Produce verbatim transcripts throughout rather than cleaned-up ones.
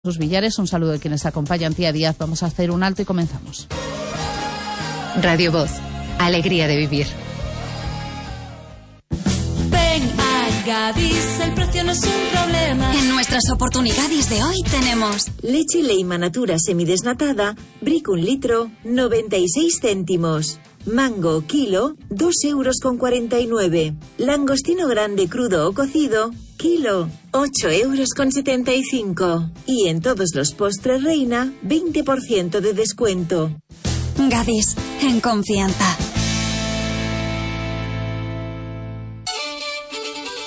Sus Villares, un saludo de quienes acompañan. Tía Díaz, vamos a hacer un alto y comenzamos. Radio Voz, alegría de vivir. Ven a Gadis, el precio no es un problema. En nuestras oportunidades de hoy tenemos leche Leima Natura semidesnatada, Brick un litro, noventa y seis céntimos. Mango kilo, dos euros con cuarenta y nueve. Langostino grande crudo o cocido, kilo, ocho euros con setenta y cinco. Y en todos los postres Reina, veinte por ciento de descuento. Gadis, en confianza.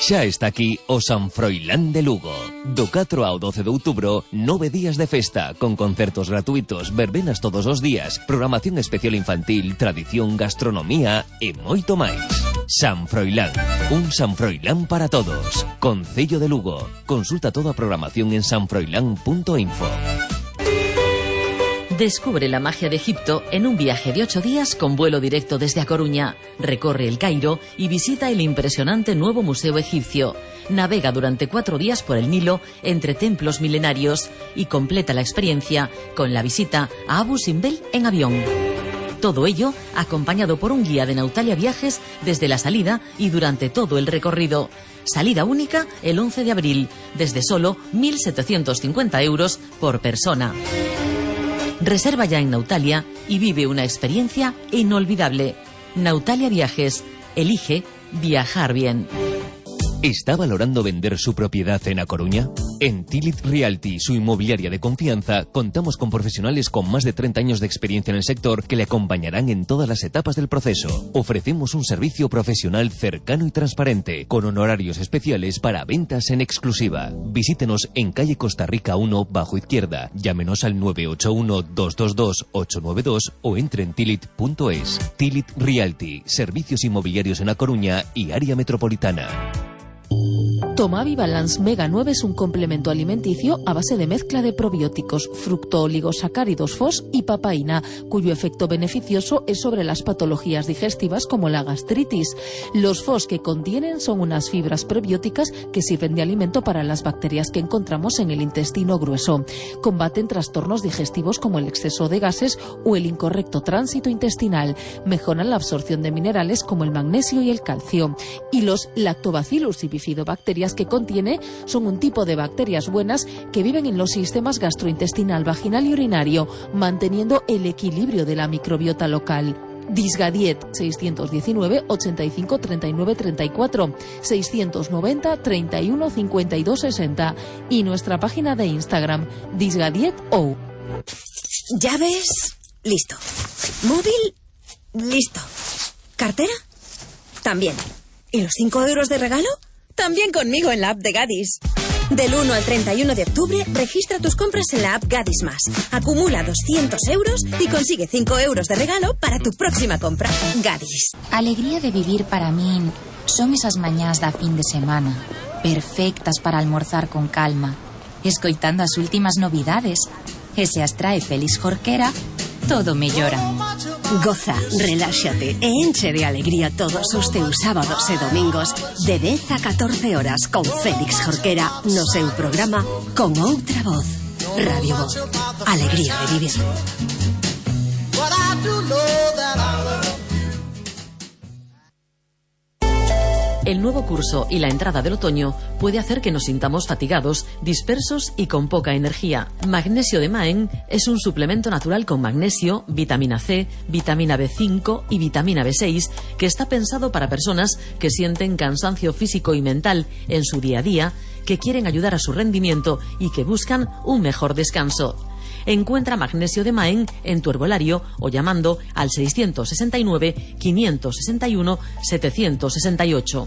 Xa está aquí o San Froilán de Lugo. Do catro ao doce de outubro, nove días de festa, con concertos gratuitos, verbenas todos os días, programación especial infantil, tradición, gastronomía e moito máis. San Froilán, un San Froilán para todos. Concello de Lugo. Consulta toda a programación en san froilán punto info. Descubre la magia de Egipto en un viaje de ocho días con vuelo directo desde A Coruña. Recorre el Cairo y visita el impresionante nuevo Museo Egipcio. Navega durante cuatro días por el Nilo entre templos milenarios y completa la experiencia con la visita a Abu Simbel en avión. Todo ello acompañado por un guía de Nautalia Viajes desde la salida y durante todo el recorrido. Salida única el once de abril, desde solo mil setecientos cincuenta euros por persona. Reserva ya en Nautalia y vive una experiencia inolvidable. Nautalia Viajes. Elige viajar bien. ¿Está valorando vender su propiedad en A Coruña? En Tilit Realty, su inmobiliaria de confianza, contamos con profesionales con más de treinta años de experiencia en el sector que le acompañarán en todas las etapas del proceso. Ofrecemos un servicio profesional cercano y transparente, con honorarios especiales para ventas en exclusiva. Visítenos en calle Costa Rica uno, bajo izquierda. Llámenos al nueve ocho uno, dos dos dos, ocho nueve dos o entre en tilit punto es. Tilit Realty, servicios inmobiliarios en A Coruña y área metropolitana. Tomavi Balance Mega nueve es un complemento alimenticio a base de mezcla de probióticos, fructooligosacáridos F O S y papaína, cuyo efecto beneficioso es sobre las patologías digestivas como la gastritis. Los F O S que contienen son unas fibras prebióticas que sirven de alimento para las bacterias que encontramos en el intestino grueso. Combaten trastornos digestivos como el exceso de gases o el incorrecto tránsito intestinal. Mejoran la absorción de minerales como el magnesio y el calcio. Y los lactobacillus y bifidobacterias que contiene son un tipo de bacterias buenas que viven en los sistemas gastrointestinal, vaginal y urinario, manteniendo el equilibrio de la microbiota local. Disgadiet seiscientos diecinueve, ochenta y cinco, treinta y nueve, treinta y cuatro, seiscientos noventa, treinta y uno, cincuenta y dos, sesenta y nuestra página de Instagram Disgadiet O. ¿Llaves? Listo. ¿Móvil? Listo. ¿Cartera? También. ¿Y los cinco euros de regalo? También conmigo en la app de Gadis. Del uno al treinta y uno de octubre, registra tus compras en la app Gadis Más. Acumula doscientos euros y consigue cinco euros de regalo para tu próxima compra. Gadis. Alegría de vivir para min son esas mañás da fin de semana, perfectas para almorzar con calma, escoitando as últimas novidades. E se as trae Félix Jorquera, todo mellora. Goza, reláxate e enche de alegría todos os teus sábados e domingos de dez a catorce horas con Félix Jorquera no seu programa Con Outra Voz. Radio Voz, alegría de vivir. El nuevo curso y la entrada del otoño puede hacer que nos sintamos fatigados, dispersos y con poca energía. Magnesio de Maen es un suplemento natural con magnesio, vitamina C, vitamina B cinco y vitamina B seis que está pensado para personas que sienten cansancio físico y mental en su día a día, que quieren ayudar a su rendimiento y que buscan un mejor descanso. Encuentra magnesio de Maen en tu herbolario o llamando al seiscientos sesenta y nueve, quinientos sesenta y uno, setecientos sesenta y ocho.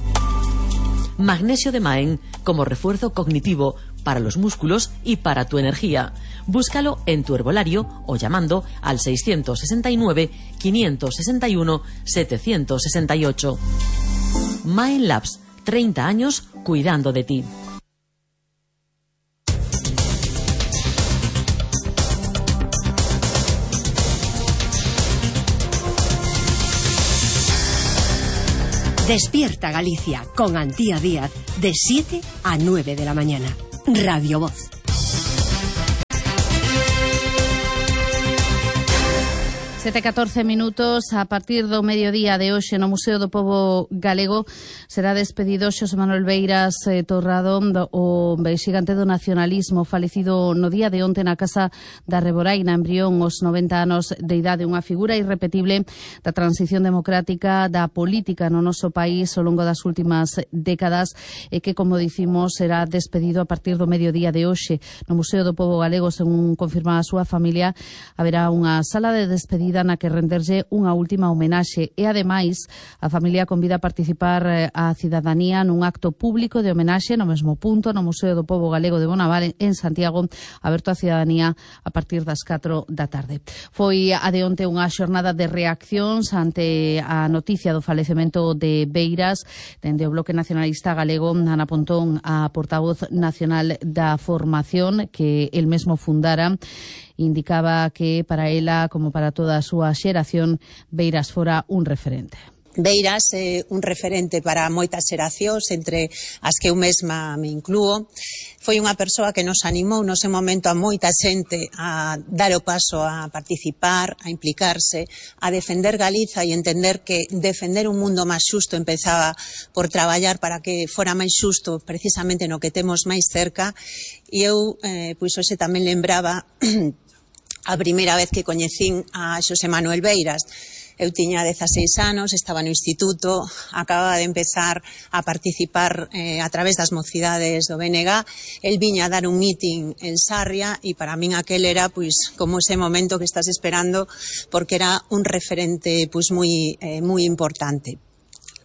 Magnesio de Maen como refuerzo cognitivo para los músculos y para tu energía. Búscalo en tu herbolario o llamando al seiscientos sesenta y nueve, quinientos sesenta y uno, setecientos sesenta y ocho. Maen Labs, treinta años cuidando de ti. Despierta Galicia con Antía Díaz de siete a nueve de la mañana. Radio Voz. sete e catorce minutos. A partir do mediodía de hoxe no Museo do Pobo Galego será despedido Xosé Manuel Beiras eh, Torrado, o xigante do nacionalismo, falecido no día de onte na Casa da Reboraina en Brión aos noventa anos de idade, unha figura irrepetible da transición democrática da política no noso país ao longo das últimas décadas e que, como dicimos, será despedido a partir do mediodía de hoxe no Museo do Pobo Galego. Según confirma a súa familia, haberá unha sala de despedida na que renderlle unha última homenaxe e, ademais, a familia convida a participar a cidadanía nun acto público de homenaxe no mesmo punto, no Museo do Pobo Galego de Bonaval, en Santiago, aberto á cidadanía a partir das catro da tarde. Foi a de onte unha xornada de reaccións ante a noticia do falecemento de Beiras. Dende o Bloque Nacionalista Galego, Ana Pontón, a portavoz nacional da formación que el mesmo fundara, indicaba que para ela, como para toda a súa xeración, Beiras fora un referente. Beiras é un referente para moitas xeracións, entre as que eu mesma me inclúo. Foi unha persoa que nos animou no seu momento a moita xente a dar o paso a participar, a implicarse, a defender Galiza e entender que defender un mundo máis xusto empezaba por traballar para que fora máis xusto precisamente no que temos máis cerca. E eu, eh, pois hoxe tamén lembraba a primeira vez que coñecín a Xosé Manuel Beiras. Eu tiña dezaseis anos, estaba no instituto, acababa de empezar a participar eh, a través das mocidades do B N G. El viña a dar un meeting en Sarria e para min aquel era pois como ese momento que estás esperando, porque era un referente pois moi eh, moi importante.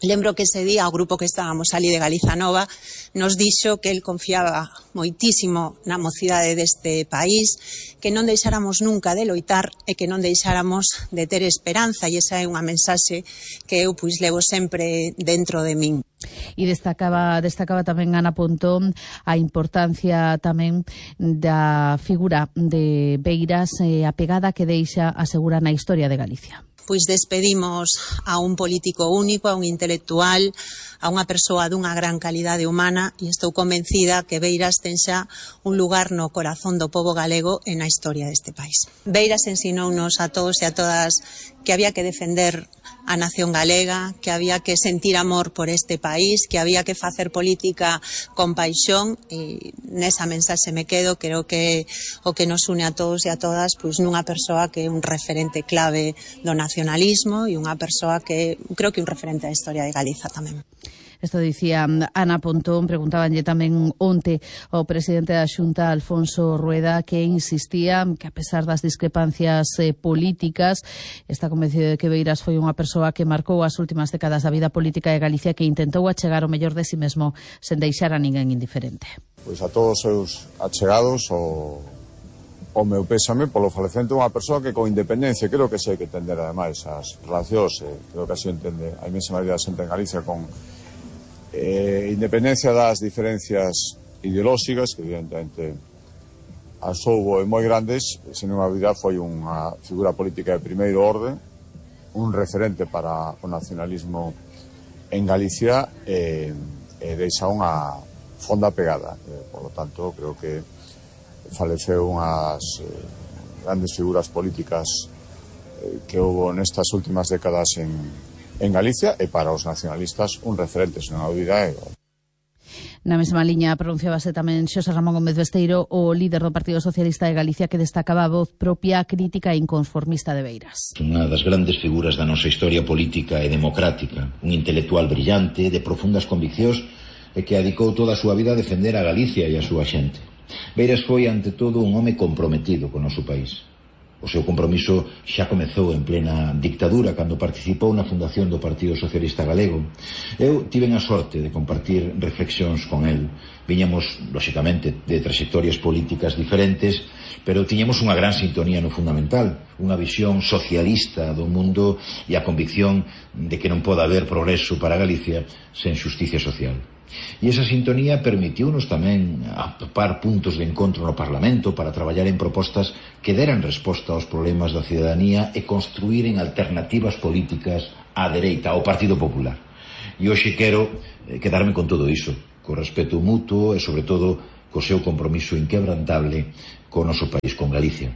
Lembro que ese día o grupo que estábamos ali de Galiza Nova nos dixo que el confiaba moitísimo na mocidade deste país, que non deixáramos nunca de loitar e que non deixáramos de ter esperanza, e esa é unha mensaxe que eu pois levo sempre dentro de min. E destacaba, destacaba tamén Ana Pontón a importancia tamén da figura de Beiras e a pegada que deixa, asegura, na historia de Galicia. Pois despedimos a un político único, a un intelectual, a unha persoa dunha gran calidade humana, e estou convencida que Beiras ten xa un lugar no corazón do pobo galego e na historia deste país. Beiras ensinounos a todos e a todas que había que defender a nación galega, que había que sentir amor por este país, que había que facer política con paixón, e nesa mensaxe me quedo. Creo que o que nos une a todos e a todas pois nunha persoa que é un referente clave do nacionalismo e unha persoa que creo que é un referente da historia de Galiza tamén. Isto dicía Ana Pontón. Preguntábanlle tamén onte ao presidente da Xunta, Alfonso Rueda, que insistía que, a pesar das discrepancias eh, políticas, está convencido de que Beiras foi unha persoa que marcou as últimas décadas da vida política de Galicia, que intentou achegar o mellor de si mesmo sen deixar a ninguén indiferente. Pois a todos os seus achegados o, o meu pésame polo falecemento de unha persoa que, con independencia, creo que sei que entender ademais as relacións, eh, creo que así entende a inmensa maioría da xente en Galicia, con Eh, independencia das diferencias ideolóxicas, que evidentemente as houbo moi grandes, sen unha dúbida foi unha figura política de primeiro orde, un referente para o nacionalismo en Galicia, e, e deixa unha fonda pegada. Eh, por lo tanto, creo que faleceu unhas eh, grandes figuras políticas eh, que houbo nestas últimas décadas en en Galicia, e para os nacionalistas un referente, sen dúbida. Na mesma liña pronunciábase tamén Xosé Ramón Gómez Besteiro, o líder do Partido Socialista de Galicia, que destacaba a voz propia, crítica e inconformista de Beiras. Unha das grandes figuras da nosa historia política e democrática, un intelectual brillante, de profundas conviccións, e que dedicou toda a súa vida a defender a Galicia e a súa xente. Beiras foi, ante todo, un home comprometido con o noso país. O seu compromiso xa comezou en plena dictadura, cando participou na fundación do Partido Socialista Galego. Eu tiven a sorte de compartir reflexións con el. Viñamos, lóxicamente, de trayectorias políticas diferentes, pero tiñamos unha gran sintonía no fundamental, unha visión socialista do mundo e a convicción de que non pode haber progreso para Galicia sen xusticia social. E esa sintonía permitiunos tamén atopar puntos de encontro no Parlamento para traballar en propostas que deran resposta aos problemas da cidadanía e construíren alternativas políticas á dereita, ao Partido Popular. E hoxe quero quedarme con todo iso, co respeto mutuo e, sobre todo, co seu compromiso inquebrantable co noso país, con Galicia.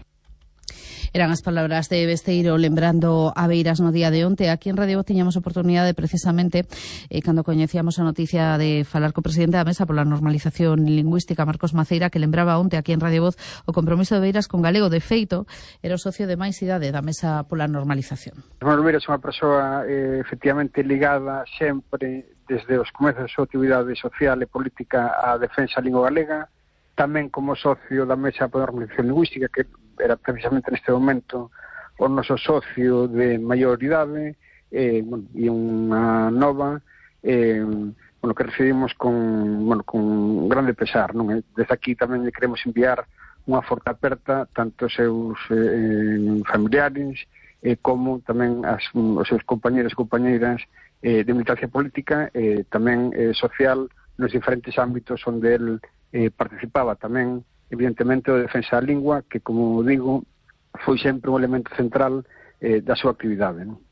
Eran as palabras de Besteiro lembrando a Beiras no día de onte. Aquí en Radio Voz tiñamos oportunidade precisamente eh, cando coñecíamos a noticia de falar co presidente da Mesa pola normalización lingüística, Marcos Maceira, que lembraba onte aquí en Radio Voz o compromiso de Beiras con galego. De feito, era o socio de máis idade da Mesa pola normalización. Manuel Beiras é unha persoa eh, efectivamente ligada sempre desde os comezos da súa actividade social e política á defensa da lingua galega, tamén como socio da Mesa pola normalización lingüística, que era precisamente neste momento o noso socio de maior idade, eh, bueno, e unha nova, eh, bueno, que recibimos con, bueno, con grande pesar, non? Desde aquí tamén lle queremos enviar unha forte aperta tanto aos seus eh, familiares eh, como tamén as, os seus compañeros e compañeiras eh, de militancia política, eh, tamén eh, social, nos diferentes ámbitos onde el eh, participaba tamén, evidentemente, o defensa da lingua, que, como digo, foi sempre un elemento central eh, da súa actividade, non?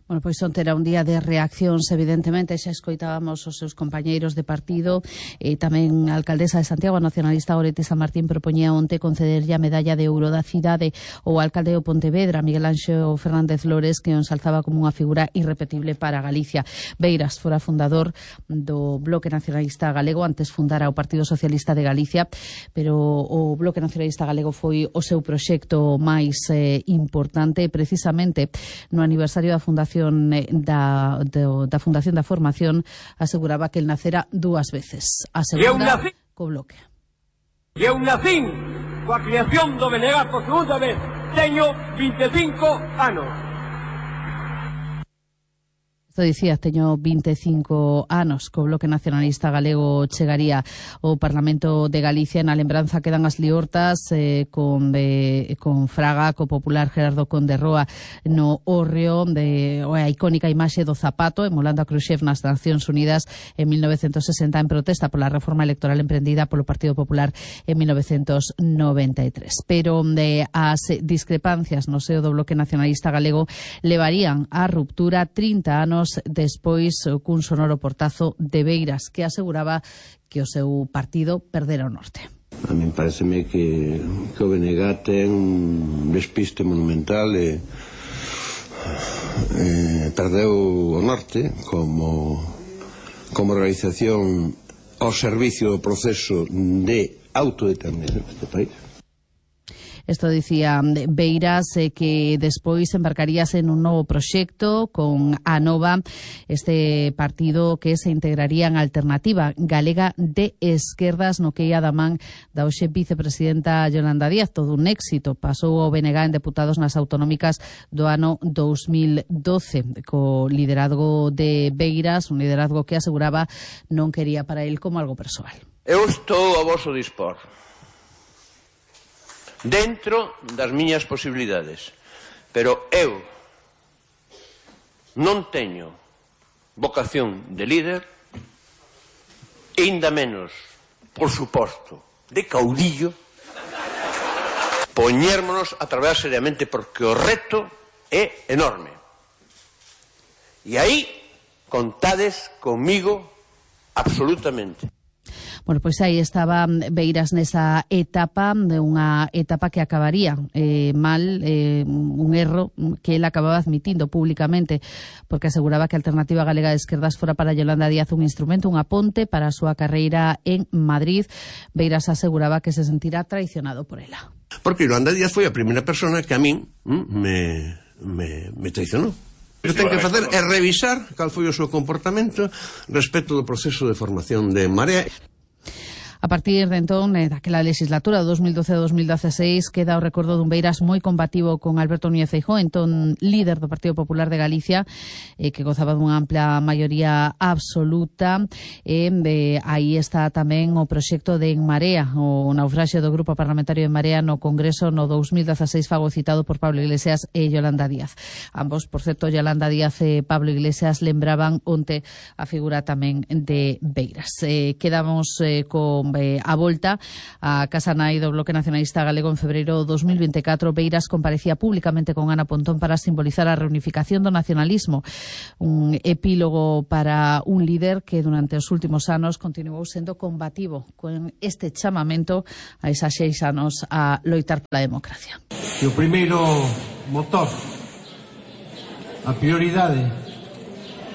Bueno, pois onte era un día de reaccións, evidentemente, xa escoitábamos os seus compañeiros de partido, e tamén a alcaldesa de Santiago, a nacionalista Goretti San Martín, propoñía onte concederlle a medalla de ouro da cidade ao alcalde de Pontevedra, Miguel Anxo Fernández Lores, que o ensalzaba como unha figura irrepetible para Galicia. Beiras fora fundador do Bloque Nacionalista Galego, antes fundara o Partido Socialista de Galicia, pero o Bloque Nacionalista Galego foi o seu proxecto máis eh, importante, precisamente no aniversario da fundación Da, da, da Fundación da Formación, aseguraba que el nacera dúas veces. A segunda, co Bloque. E eu nacín coa creación do B N G por segunda vez. Teño vinte e cinco anos. Isto dicía, teño vinte e cinco anos, co Bloque Nacionalista Galego chegaría ao Parlamento de Galicia. Na lembranza quedan as liortas eh, con, de, con Fraga, co popular Gerardo Conde Roa no hórreo, de a icónica imaxe do zapato emulando a Khrushchev nas Nacións Unidas en mil novecentos sesenta en protesta pola reforma electoral emprendida polo Partido Popular en mil novecentos noventa e tres. Pero de as discrepancias no seo do Bloque Nacionalista Galego levarían á ruptura trinta anos despois cun sonoro portazo de Beiras, que aseguraba que o seu partido perdera o norte. A mí pareceme que, que o B N G ten un despiste monumental e eh, perdeu o norte como, como organización ao servicio do proceso de autodeterminación deste país. Isto dicía Beiras, eh, que despois embarcaríase en un novo proxecto con a Nova, este partido que se integraría en Alternativa Galega de Esquerdas, no que ia da man da hoxe vicepresidenta Yolanda Díaz. Todo un éxito. Pasou o B N G en deputados nas autonómicas do ano dous mil doce, co liderazgo de Beiras, un liderazgo que aseguraba non quería para el como algo persoal. Eu estou a voso dispor, dentro das miñas posibilidades, pero eu non teño vocación de líder, e ainda menos, por suposto, de caudillo, poñérmonos a traballar seriamente, porque o reto é enorme. E aí contades comigo absolutamente. Bueno, pois aí estaba Beiras nesa etapa, unha etapa que acabaría eh, mal, eh, un erro que ele acababa admitindo públicamente, porque aseguraba que a Alternativa Galega de Esquerdas fora para Yolanda Díaz un instrumento, unha ponte para a súa carreira en Madrid. Beiras aseguraba que se sentirá traicionado por ela. Porque Yolanda Díaz foi a primeira persona que a min me, me, me traicionou. O que ten que facer é revisar cal foi o seu comportamento respecto do proceso de formación de Marea. A partir de entón, eh, daquela legislatura do dos mil doce a dos mil dieciséis, queda o recordo dun Beiras moi combativo con Alberto Núñez Feijóo, entón líder do Partido Popular de Galicia, eh, que gozaba dunha ampla maioría absoluta. E eh, aí está tamén o proxecto de En Marea, o naufraxio do Grupo Parlamentario de Marea no Congreso no dos mil dieciséis, fago citado por Pablo Iglesias e Yolanda Díaz. Ambos, por certo, Yolanda Díaz e Pablo Iglesias lembraban onte a figura tamén de Beiras. Eh, quedamos eh, con eh, a volta a Casa Nai do Bloque Nacionalista Galego en febreiro de dos mil veinticuatro. Beiras comparecía públicamente con Ana Pontón para simbolizar a reunificación do nacionalismo, un epílogo para un líder que durante os últimos anos continuou sendo combativo con este chamamento a esas seis anos a loitar pola democracia. que o primeiro motor, a prioridade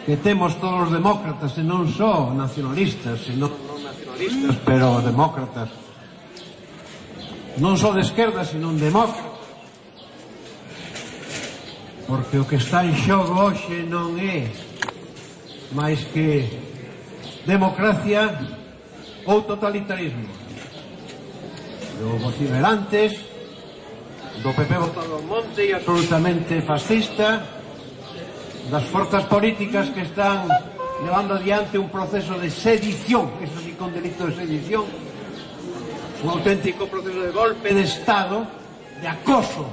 que temos todos os demócratas, e non só nacionalistas, e non, non nacionalistas, pero demócratas, non só de esquerda, sino demócratas, porque o que está en xogo hoxe non é máis que democracia ou totalitarismo. Do vociferantes, do P P botado ao monte e absolutamente fascista, das forzas políticas que están levando adiante un proceso de sedición, que é un delito de sedición, un auténtico proceso de golpe de Estado, de acoso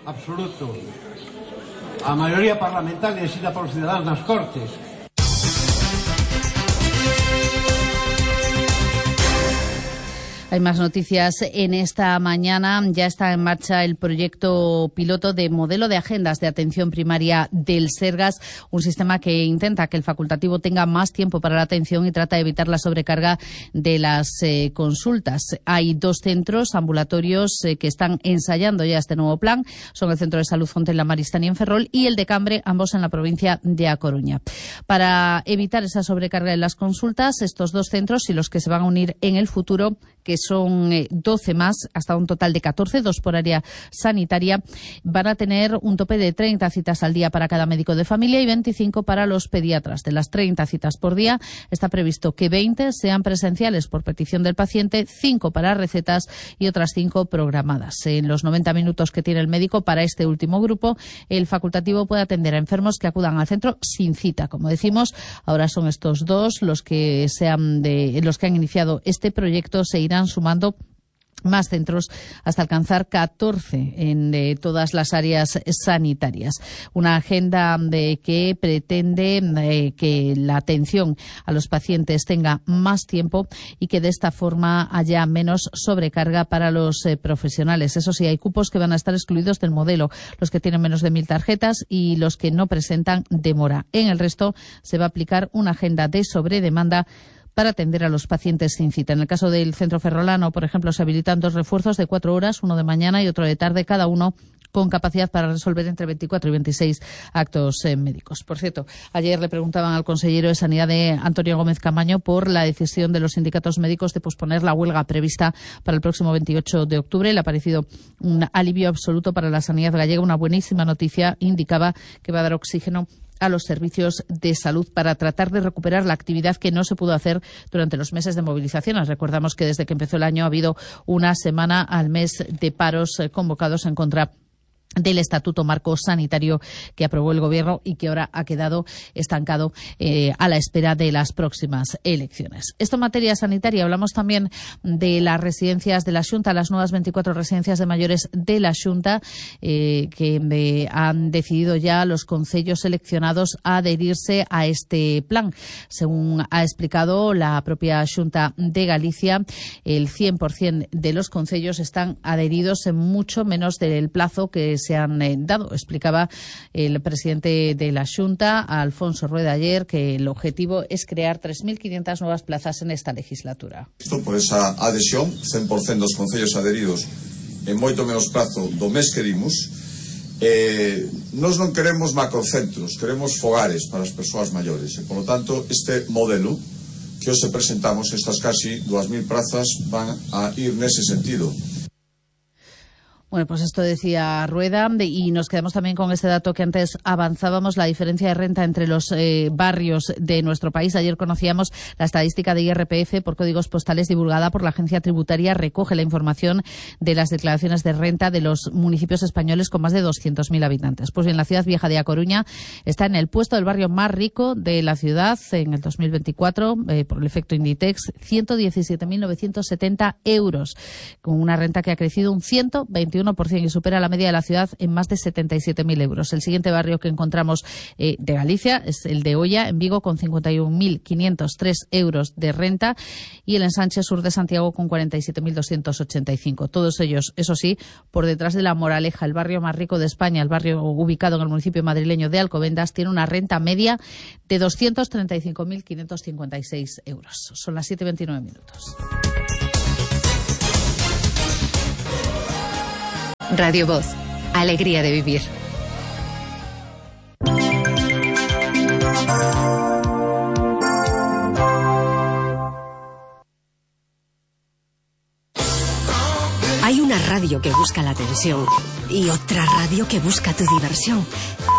absoluto a maioría parlamentaria exigida por os cidadáns nas Cortes. Hay más noticias en esta mañana. Ya está en marcha el proyecto piloto de modelo de agendas de atención primaria del Sergas, un sistema que intenta que el facultativo tenga más tiempo para la atención y trata de evitar la sobrecarga de las eh, consultas. Hay dos centros ambulatorios eh, que están ensayando ya este nuevo plan. Son el Centro de Salud Fontella Maristany en Ferrol y el de Cambre, ambos en la provincia de A Coruña. Para evitar esa sobrecarga de las consultas, estos dos centros y los que se van a unir en el futuro, que son doce más, hasta un total de catorce, dos por área sanitaria, van a tener un tope de treinta citas al día para cada médico de familia y veinticinco para los pediatras. De las treinta citas por día, está previsto que veinte sean presenciales por petición del paciente, cinco para recetas y otras cinco programadas. En los noventa minutos que tiene el médico para este último grupo, el facultativo puede atender a enfermos que acudan al centro sin cita. Como decimos, ahora son estos dos los que, sean de, los que han iniciado este proyecto. Se irán sumando más centros hasta alcanzar catorce en eh, todas las áreas sanitarias. Una agenda de que pretende eh, que la atención a los pacientes tenga más tiempo y que de esta forma haya menos sobrecarga para los eh, profesionales. Eso sí, hay cupos que van a estar excluidos del modelo, los que tienen menos de mil tarjetas y los que no presentan demora. En el resto se va a aplicar una agenda de sobredemanda para atender a los pacientes sin cita. En el caso del centro ferrolano, por ejemplo, se habilitan dos refuerzos de cuatro horas, uno de mañana y otro de tarde, cada uno con capacidad para resolver entre veinticuatro y veintiséis actos eh, médicos. Por cierto, ayer le preguntaban al consejero de Sanidad, de Antonio Gómez Camaño, por la decisión de los sindicatos médicos de posponer la huelga prevista para el próximo veintiocho de octubre. Le ha parecido un alivio absoluto para la sanidad gallega, una buenísima noticia. Indicaba que va a dar oxígeno a los servicios de salud para tratar de recuperar la actividad que no se pudo hacer durante los meses de movilizaciones. Recordamos que desde que empezó el año ha habido una semana al mes de paros eh, convocados en contra del Estatuto Marco Sanitario que aprobó el Gobierno y que ahora ha quedado estancado eh, a la espera de las próximas elecciones. Esto en materia sanitaria. Hablamos también de las residencias de la Xunta, las nuevas veinticuatro residencias de mayores de la Xunta, eh, que eh, han decidido ya los concellos seleccionados a adherirse a este plan. Según ha explicado la propia Xunta de Galicia, el cien por ciento de los concellos están adheridos en mucho menos del plazo que se han eh, dado. Explicaba el presidente de la Xunta, Alfonso Rueda, ayer que el objetivo es crear tres mil quinientas nuevas plazas en esta legislatura. Isto por esa adhesión, cen por cento dos concellos adheridos en moito menos prazo do mes que dimos. Eh, nós non queremos macrocentros, queremos fogares para as persoas maiores e, por lo tanto, este modelo que hoxe presentamos, estas casi dúas mil plazas, van a ir nese sentido. Bueno, pues esto decía Rueda, y nos quedamos también con este dato que antes avanzábamos, la diferencia de renta entre los eh, barrios de nuestro país. Ayer conocíamos la estadística de I R P F por códigos postales divulgada por la agencia tributaria. Recoge la información de las declaraciones de renta de los municipios españoles con más de doscientos mil habitantes. Pues bien, la ciudad vieja de A Coruña está en el puesto del barrio más rico de la ciudad en el dos mil veinticuatro, eh, por el efecto Inditex, ciento diecisiete mil novecientos setenta euros, con una renta que ha crecido un ciento veintiuno por ciento y supera la media de la ciudad en más de setenta y siete mil euros. El siguiente barrio que encontramos eh, de Galicia es el de Oia, en Vigo, con cincuenta y un mil quinientos tres euros de renta, y el ensanche sur de Santiago con cuarenta y siete mil doscientos ochenta y cinco. Todos ellos, eso sí, por detrás de La Moraleja, el barrio más rico de España, el barrio ubicado en el municipio madrileño de Alcobendas, tiene una renta media de doscientos treinta y cinco mil quinientos cincuenta y seis euros. Son las siete y veintinueve minutos. Radio Voz, Alegría de vivir. Hay una radio que busca la atención y otra radio que busca tu diversión.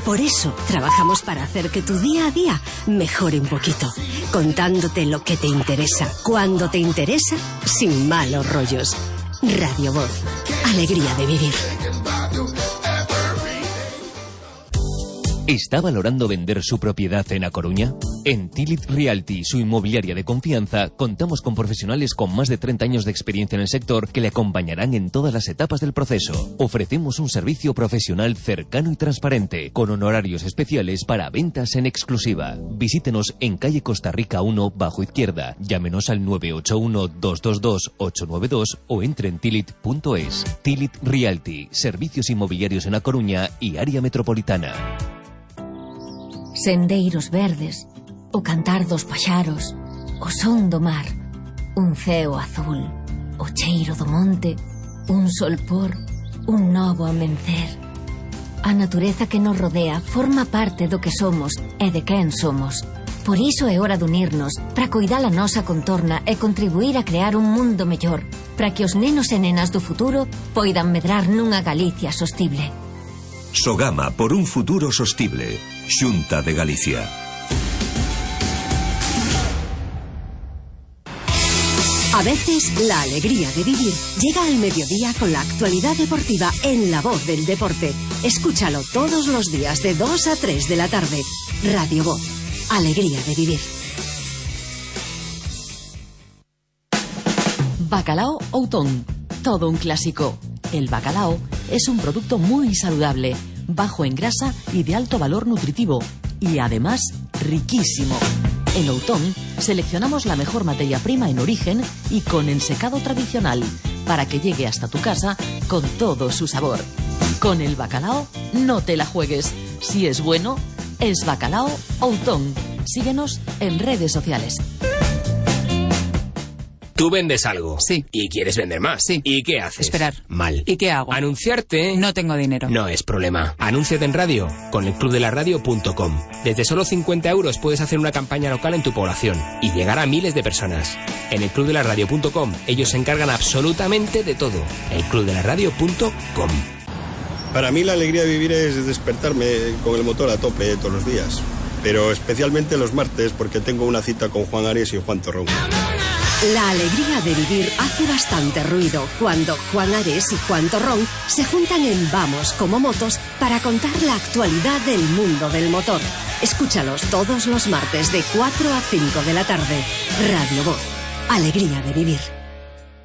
Por eso trabajamos para hacer que tu día a día mejore un poquito, contándote lo que te interesa, cuando te interesa, sin malos rollos. Radio Voz, alegría de vivir. ¿Está valorando vender su propiedad en A Coruña? En Tilit Realty, su inmobiliaria de confianza, contamos con profesionales con más de treinta años de experiencia en el sector que le acompañarán en todas las etapas del proceso. Ofrecemos un servicio profesional cercano y transparente, con honorarios especiales para ventas en exclusiva. Visítenos en calle Costa Rica uno, bajo izquierda. Llámenos al nueve ocho uno, dos dos dos, ocho nueve dos o entre en tilit punto es. Tilit Realty, servicios inmobiliarios en A Coruña y área metropolitana. Sendeiros verdes, o cantar dos paxaros, o son do mar, un ceo azul, o cheiro do monte, un solpor, un novo amencer. A natureza que nos rodea forma parte do que somos e de quen somos. Por iso é hora de unirnos para coidar a nosa contorna e contribuir a crear un mundo mellor, para que os nenos e nenas do futuro poidan medrar nunha Galicia sostible. Sogama por un futuro sostible. Xunta de Galicia. A veces, la alegría de vivir llega al mediodía con la actualidad deportiva en La Voz del Deporte. Escúchalo todos los días de dos a tres de la tarde. Radio Voz, alegría de vivir. Bacalao Outón, todo un clásico. El bacalao es un producto muy saludable, bajo en grasa y de alto valor nutritivo, y además riquísimo. En Outón seleccionamos la mejor materia prima en origen y con ensecado tradicional, para que llegue hasta tu casa con todo su sabor. Con el bacalao no te la juegues. Si es bueno, es Bacalao Outón. Síguenos en redes sociales. Tú vendes algo. Sí. Y quieres vender más. Sí. ¿Y qué haces? Esperar. Mal. ¿Y qué hago? Anunciarte. No tengo dinero. No es problema. Anúnciate en radio con el club de la radio punto com. Desde solo cincuenta euros puedes hacer una campaña local en tu población y llegar a miles de personas. En el club de la radio punto com ellos se encargan absolutamente de todo. el club de la radio punto com. Para mí la alegría de vivir es despertarme con el motor a tope todos los días. Pero especialmente los martes porque tengo una cita con Juan Ares y Juan Torrón. La alegría de vivir hace bastante ruido cuando Juan Ares y Juan Torrón se juntan en Vamos como Motos para contar la actualidad del mundo del motor. Escúchalos todos los martes de cuatro a cinco de la tarde. Radio Voz, alegría de vivir.